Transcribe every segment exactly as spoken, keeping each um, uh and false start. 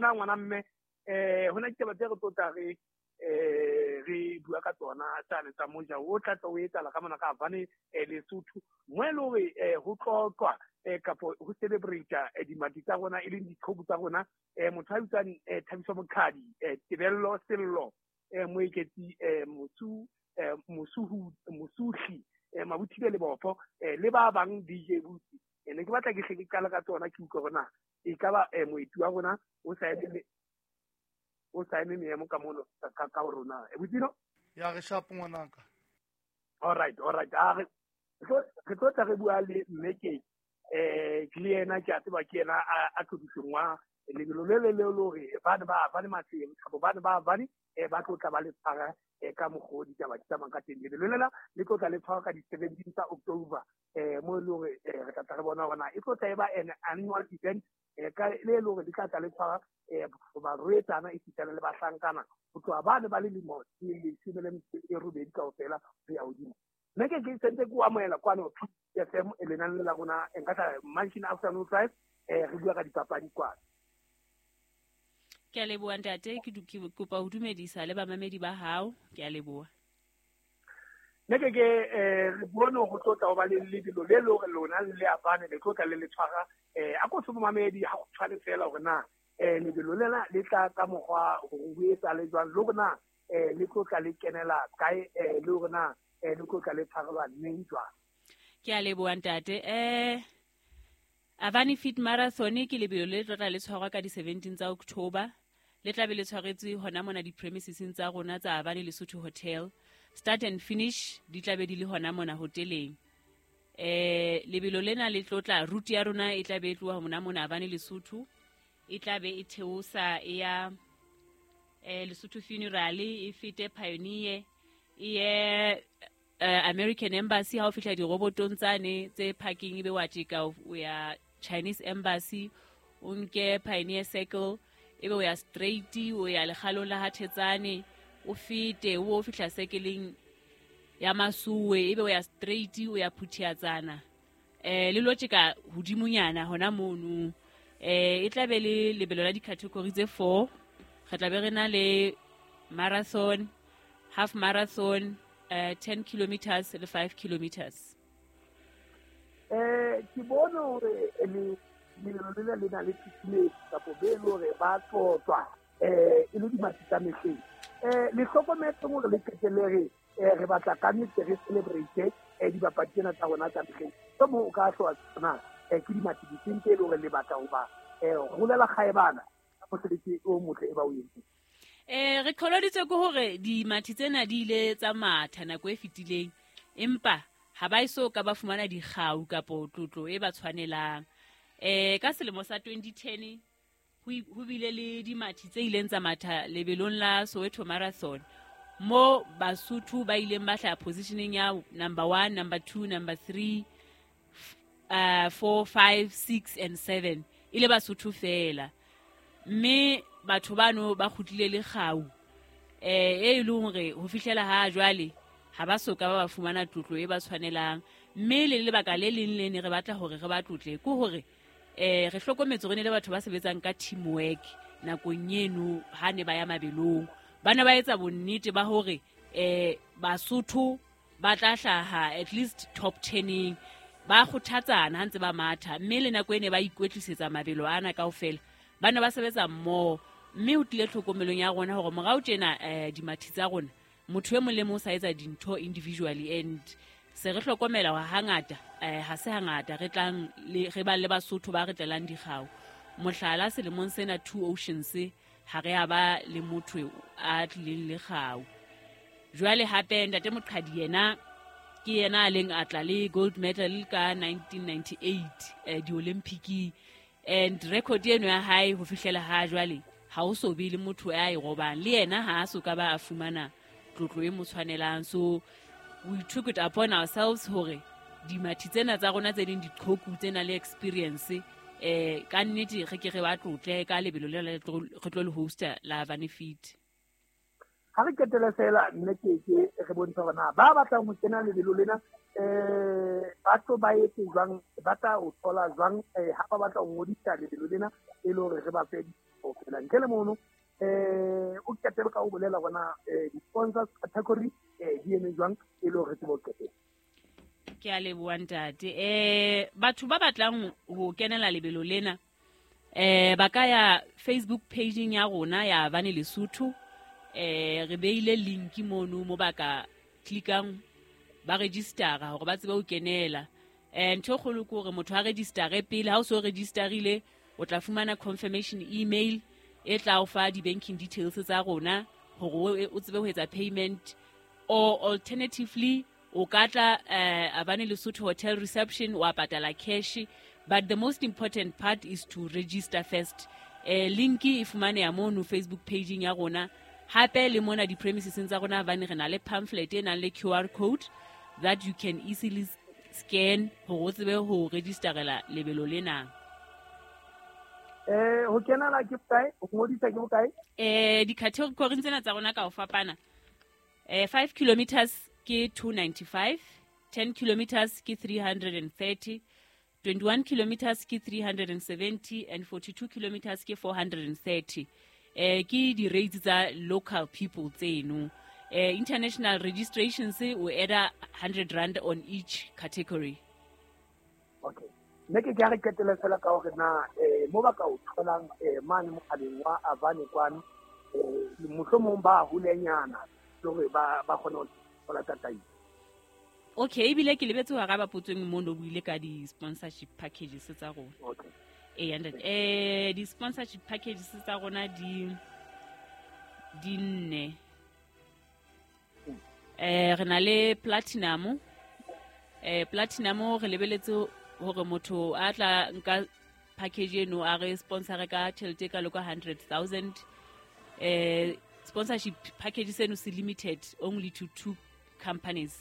Bona ngwana mme eh hona ditaba tse re tlotla re eh re bua ka tsona tsane tsa moja o tla tla o etsahala ka mona ka Havane Lesotho mo e le hore ho tlotlwa kapo ho celebrate dimathi tsa rona e leng diqhoku tsa rona. Motho a bitswang Thabiso Mokhadi, Tebello Sello, Moeketsi Mosu Mosuhu Mosuhli, Mabuthile Lebopho le ba bang D J Butsi. Ne ke batla ke hle ke qala ka tsona ke utlwe hore na e ka ba moeti wa rona o sa eme o sa eme meemo ka mono ka ka rona. E Butsino? Ya re sharp ngwanaka. All right, all right. A re re tlo tla re bua le mme ke eh ke le yena ke a tseba ke yena a tlodiseng lebelo le le le hore ba ne ba ba le matseng kapa ba ne ba ba ne ba tlo tla ba le tshwara ka mokgwa ditaba di tsamayang ka teng. Lebelo lela le tlo tla le tshwara ka di-seventeen tsa October mo e le hore re tla tla re bona hore na e tlo tla e ba an annual event ka le le hore di tla tla le tshwara barwetsana esitana le bahlankana ho tloha ba ne ba le lemo tse leshome le metso e robedi kaofela ho ya hodimo. Mme ke ke sentse ke o amohela kwano P F M e lenane la rona nka tla Mansion Afternoon Drive eh re bua ka dipapadi kwano. Ke a leboha ntate, ke kopa ho dumedisa le bamamedi ba hao. Ke a leboha. Nne ke ke eh re bone ho tlotla ho ba le lebelo le le hore lona le Havane le tlotla le le tshwara eh a ko se bomamedi ha go tshwane fela hore na eh lebelo lena le tla ka mokgwa ho etsa le jwang le hore na eh le tlotla le kenela kae eh le hore na eh le tlotla le tshwarelwa neng jwang. Ke a leboha ntate. Eh Havane Fit Marathon ke lebelo le tlotla le tshwarwa ka di-seventeen tsa October. Le tla be le tshwaretswe hona mona di-premiseseng tsa rona tsa Havane Lesotho Hotel. Start and finish di tla be di le hona mona hoteleng. Eh lebelo lena le tlotla route ya rona e tla be e tloha mona mona Havane Lesotho. E tla be e theosa e ya eh Lesotho Funeral, e fete Pioneer, e ye American Embassy ha o fihla dirobotong tsane tse parking ebe wa tjeka o ya Chinese Embassy, o nke Pioneer Circle ebe o ya straight o ya lekgalong la Hathetsane, o fete o fihla sekeleng ya Masuwe ebe o ya straight o ya Phuthiatsana eh le lo tjeka hodimonyana hona mono. Eh e tla be le lebelo la di-category tse four. Re tla be re na le marathon, half marathon, uh, ten kilometers le five kilometers. Eh ke bone hore le lebelo lena le na le tshireletso kapa be le hore ba tlotlwa eh e le dimathi tsa mehleng. Eh le hlokometse hore le qetelle re re batla ka nnete re celebrate eh dibapadi tsena tsa rona tsa mehleng. So mo o ka hloka tsona eh ke dimathi difeng tse e le hore le batla ho ba eh holela kgaebana ka mosebetsi o motle e ba o entseng. Eh re qholoditswe ke hore dimathi tsena di ile tsa matha nako e fetileng empa ha ba eso ka ba fumana dikgau kapo tlotlo e ba tshwanelang. Eh ka selemo sa twenty ten ho bile le dimathi tse ileng tsa matha lebelong la Soweto Marathon mo Basotho ba ileng ba hlaha positioning ya number one, number two, number three, uh four, five, six and seven ile Basotho fela. Mme batho bano ba kgutlile le kgau eh e leng hore ho fihlela ha jwale ha ba soka ba ba fumana tlotlo e ba tshwanelang. Mme le lebaka le leng le ne re batla hore re ba tlotle ke hore eh re hlokometse hore ne le batho ba sebetsang ka teamwork nakong eno ha ne ba ya mabelong. Ba ne ba etsa bonnete ba hore eh Basotho ba tla hlaha at least top ten-eng, ba kgothatsana ha ntse ba matha. Mme le nako e ne ba ikwetlisetsa mabelo ana kaofela ba ne ba sebetsa mmoho. Mme ho tlile tlhokomelong ya rona hore morao tjena eh dimathi tsa rona motho e mong le mong o sa etsa dintho individually and se re hlokomela hore hangata eh ha se hangata re tlang le re ba le Basotho ba re tlelang dikgau. Mohlala selemong sena Two Oceans ha re a ba le motho a tlileng le kgau. Jwale hape ntate Moqhadi yena ke yena a leng a tla le gold medal ka nineteen ninety-eight eh di-Olympic and record eno ya hae ho fihlela ha jwale ha o so be le motho a e robang le yena ha a so ka ba a fumana tlotlo e mo tshwanelang. So we took it upon ourselves hore dimathi tsena tsa rona tse ding diqhoku tsena le experience eh ka nnete re ke re ba tlotle ka lebelo le re tlo le hosta la Havane Fit. Ha re qetela fela mme ke ke re bontsha hore na ba batlang ho kena lebelo lena eh batho ba etse jwang ba tla o thola jwang eh ha ba batla ho ngodisa lebelo lena e le hore re ba fe kaofela. Ntle le mono eh o qetele ka ho bolela bona eh di-sponsors category eh di eme jwang e le hore re tsebe ho qetela. Ke a leboha ntate. Eh batho ba batlang ho kenela lebelo lena eh ba ka ya Facebook page-ing ya rona ya Avane Lesotho. Eh re beile link mono mo ba ka clickang ba registera hore ba tsebe ho kenela. Eh ntho e kgolo ke hore motho a registere pele. Ha o so registerile o tla fumana confirmation email e tla o fa di-banking details tsa rona hore o tsebe ho etsa payment, or alternatively o ka tla eh Avane Lesotho Hotel reception wa patala cash. But the most important part is to register first. Eh link e fumaneha mono Facebook page ya rona. Hape le mona di-premises tsa rona Avane re na le pamphlet e nang le Q R code that you can easily scan hore o tsebe ho registerela lebelo lena. Eh ho kenela ke bokae? Ho ngodisa ke bokae? Eh di-category tsena tsa rona ka ho fapana. Eh five kilometers ke two ninety-five, ten kilometers ke three hundred and thirty, twenty-one kilometers ke three hundred and seventy and forty-two kilometers ke four hundred and thirty. Eh ke di-rates tsa local people tseno. Eh international registrations o add hundred rand on each category. Okay. Nne ke ke re qetele fela ka hore na eh mo ba ka o tholang eh mane mohaleng wa Avane kwano eh mohlomong ba holenyana hore ba ba kgone ho thola tataiso. Okay, ebile ke lebetse ho araba potso e nngwe mo no buile ka di-sponsorship packages tsa rona. Okay. Eh and eh di-sponsorship packages tsa rona di di nne. Eh re na le platinum. Eh platinum re lebeletse hore motho a tla nka package eno a re sponsor ka tjhelete ka loka hundred thousand. Eh sponsorship package seno se limited only to two companies.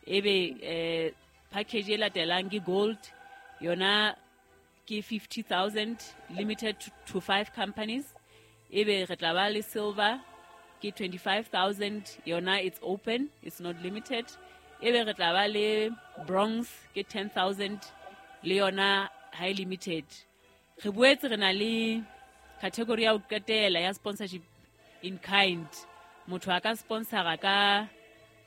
Ebe eh package e latelang ke gold yona ke fifty thousand limited to, to five companies. Ebe re tla ba le silver ke twenty-five thousand yona it's open, it's not limited. Ebe re tla ba le bronze ke ten thousand le yona high limited. Re boetse re na le category ya ho qetela ya sponsorship in kind. Motho a ka sponsora ka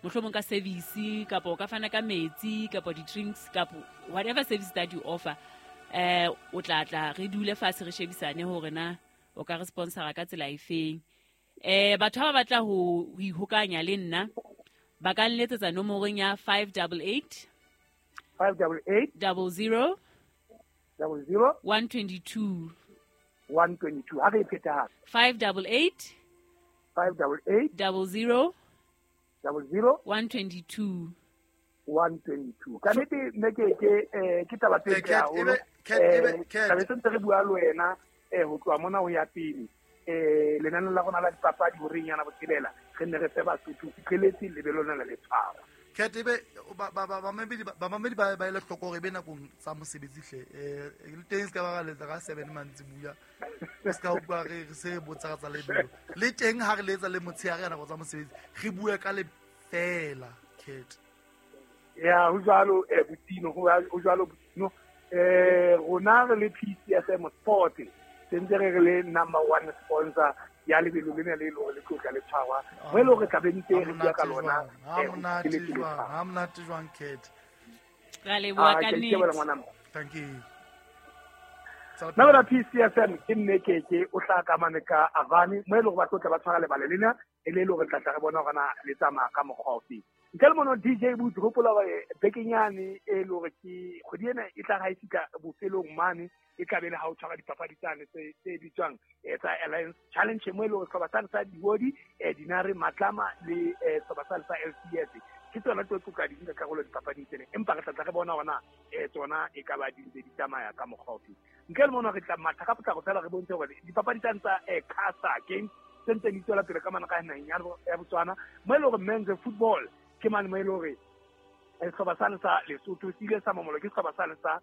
mohlomong ka service kapa o ka fana ka metsi kapa di-drinks kapa whatever service that you offer. Eh o tla tla re dule fatshe re shebisane hore na o ka re sponsora ka tsela efeng. Eh batho ba batla ho ihokanya le nna ba ka nletsetsa nomorong ya five double eight five double eight double zero double zero one twenty-two one twenty-two. Ha re e pheta hape. five double eight five double eight double zero double zero one twenty-two one twenty-two. Ka nnete nne ke ke eh ke taba tse ntle haholo. Eh taba tse ntse re bua le wena eh ho tloha mona ho ya pele. Eh lenane la rona la dipapadi horeng yana botshelela re nne re fe Basotho fitlheletse lebelo lena le tshwara. Cat ebe ba ba ba bamamedi ba bamamedi ba ba ile hloko hore ebe nakong tsa mosebetsi hle eh le teng se ka ba letsa ka seven mantsibuya se ka utlwa re se botsa tsa lebelo le teng ha re letsa le motshehare nako tsa mosebetsi re bue ka le fela Cat. Ya ho jwalo eh botino ho jwalo botino eh rona re le P C F M Sport sentse re le number one sponsor ya lebelo lena le le le tlotla le tshwarwa mo e le hore tla be ntse re bua ka lona. Ha monate jwang, ha monate jwang Cat. Ra leboha ka nnete. Thank you. Nna bona P C F M ke nne ke ke o tla ka mane ka Avane mo e le hore ba tlotla ba tshwara lebale lena e le le hore tla tla re bona hore na le tsamaya ka mokgwa ofe. Ntle le mono D J Boots hopola hore bekenyane e le hore ke kgwedi ena e tla ha e fihla bofelong mane e tla be le ha o tshwara dipapadi tsane tse tse bitswang tsa Alliance Challenge mo e le hore sehlopha sane sa Diodi Dinare Matlama le sehlopha sane sa L C S ke tsona tse tlo ka di nka karolo dipapading tsena, empa re tla tla re bona hore na tsona e ka ba di ntse di tsamaya ka mokgwa ofe. Ntle le mono re tla matha ka potlako fela re bontshe hore dipapadi tsane tsa Casa Games tse ntse di tswela pele ka mane ka naheng ya Botswana mo e le hore men's football ke mane mo e le hore sehlopha sane sa Lesotho se ile sa mamolo ke sehlopha sane sa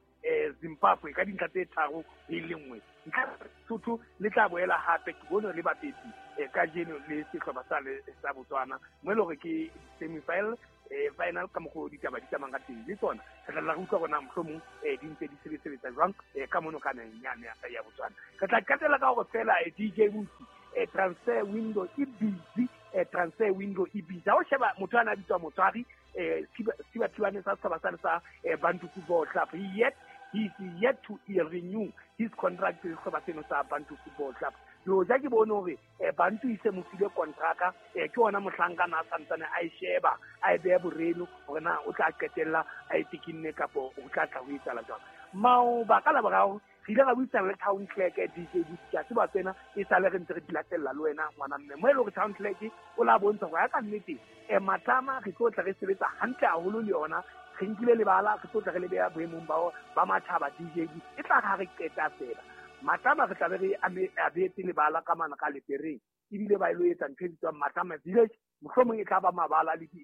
Zimbabwe ka dintlha tse tharo e le nngwe. Ntlha Lesotho le tla boela hape ke bone le bapetsi kajeno le sehlopha sane sa Botswana mo e le hore ke semi-final eh final ka mokgo ditaba di tsamang ka teng le tsona re tla re utlwa bona mohlomong eh di ntse di sebetsa jwang eh ka mono ka naheng yane ya Botswana. Re tla qetela ka hore fela D J Busi eh transfer window e busy, eh transfer window e busy. Ha o sheba motho ana bitswa Motswari eh Siba Thibane sa setjhaba sane sa Bantu Football Club, he yet he is yet to renew his contract le setjhaba seno sa Bantu Football Club. Yo ja ke bone hore Bantu e se mo file kontraka, ke ona mohlankana a santsane a e sheba a e beha boreno hore na o tla qetella a e tekinne kapo o tla tla ho etsahala jwang. Maoba ka Laboraro re ile ra buisana le town clerk D J Busi, ke a tseba tsena e sale re ntse re di latella le wena ngwana mme mo e le hore town clerk o la bontsha hore ya ka nnete eh Matlama re tlo tla re sebetsa hantle haholo le yona, re nkile lebala re tlo tla re le beha boemong ba ba matjhaba D J Busi. E tla ha re qeta fela Matlama re tla be re abetse lebala ka mana ka lepereng ebile ba ilo etsa ntho e bitswang Matlama Village, mohlomong e tla ba mabala le di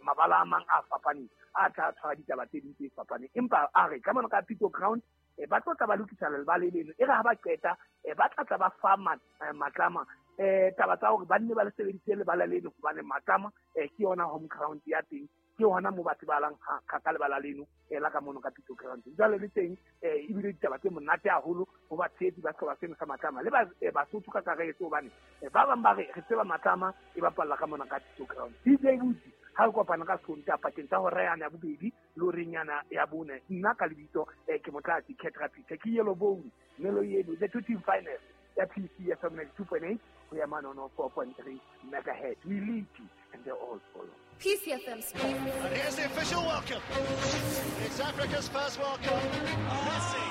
mabala a mang a fapaneng a tla tshwara ditaba tse ding tse fapaneng. Empa a re ka mona ka Pito Ground ba tlo tla ba lokisa lebala leno, e re ha ba qeta ba tla tla ba fa Matlama eh taba tsa hore ba nne ba le sebedise lebala leno hobane Matlama ke yona home ground ya teng, ke hona mo batho ba lang ka ka lebala leno la ka mono ka Pito Ground. Jwale le teng ebile ditaba tse monate haholo ho batshehetsi ba sehlopha seno sa Matlama le ba Basotho ka kakaretso hobane ba bang ba re re tseba Matlama e bapalla ka mona ka Pito Ground. D J Busi ha re kopana ka Sontaha pakeng tsa hora yane ya bobedi le horeng yana ya bone, nna ka lebitso ke Motlatsi Ketra Peter ke Yellow Bone Melo Yelo the two team finals ya P C F M ninety-two point eight ho ya manono four point three megahertz. We lead you and they all follow. P C F M Sports. And here's the official welcome. It's Africa's first World Cup. Messi.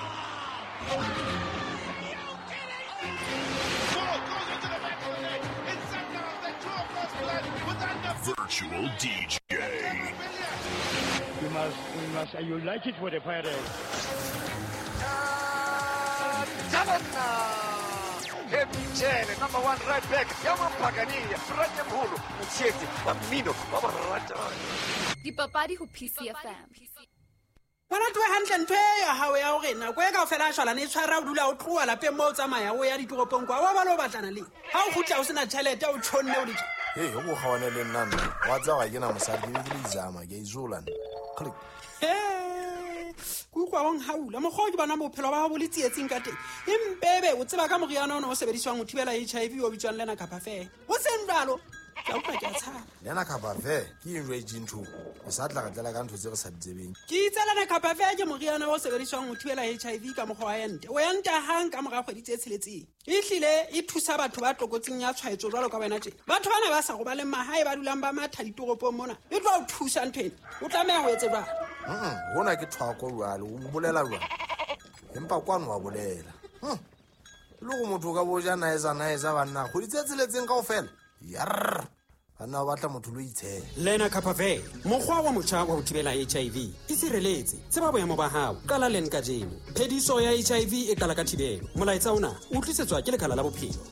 Ball goes into the back of the net. It's Sundowns that draw first blood with under Virtual D J. We must, we must unite it with the pirates. Mchele, number one right back, Yamampagania, Franyamhulu, Mtshetsi, Bamino, Babarata. Dipapadi ho P C F M. Bona twe hantle ntho e ya hao ya hore nako e kaofela a shwalane e tshwara o dula o tloha lapeng moo o tsamaya o ya ditoropong kwa wa ba lo batlana le ha o kgutla o sena tjhelete o tjhonne o le Hey, o go gawane le nna nna wa tsa ga ke na mosadi ke le izama ke izola nna. Click. Ke utlwa o nhaula mokgwa ke bona bophelo ba hao bo le tsietsing ka teng empebe o tseba ka moriana ona o sebediswang ho thibela H I V o bitswang Lena Capafe o seng jwalo ke utlwa ke a tshaba Lena Capafe ke eng jwa ntho o sa tla re tlela ka ntho tse re sa di tsebeng ke itse Lena Capafe ke moriana o sebediswang ho thibela H I V ka mokgwa wa ente o enta hang ka mora kgwedi tse tsheletseng e hlile e thusa batho ba tlokotsing ya tshwaetso jwalo ka wena tje batho bana ba sa robaleng mahae ba dulang ba matha ditoropong mona e tlo o thusa ntho ena o tlameha ho etse jwang mm hona ke thwako jwalo o bolela jwang empa kwano wa bolela hm le go motho ka boja naeza naeza banna kgwedi tse tsheletseng kaofela yarr banna ba batla motho lo itshela Lena Capafe mokgwa wa motjha wa ho thibela H I V e sireletse tseba boemo ba hao qala len kajeno phediso ya H I V e qala ka thibelo molaetsa ona o tlisetswa ke lekala la bophelo.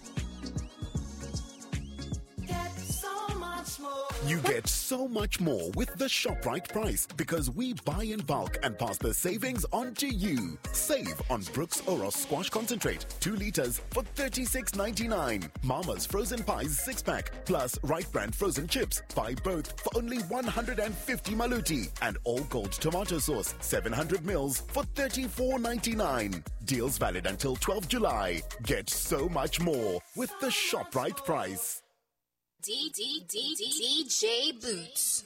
You get so much more with the ShopRite price because we buy in bulk and pass the savings on to you. Save on Brooks Oros Squash Concentrate, two liters for thirty-six ninety-nine. Mama's Frozen Pies six pack plus Right Brand Frozen Chips. Buy both for only one hundred fifty maluti. And All Gold Tomato Sauce, seven hundred mils for thirty-four ninety-nine. Deals valid until twelfth July. Get so much more with the ShopRite price. D D D D J Boots.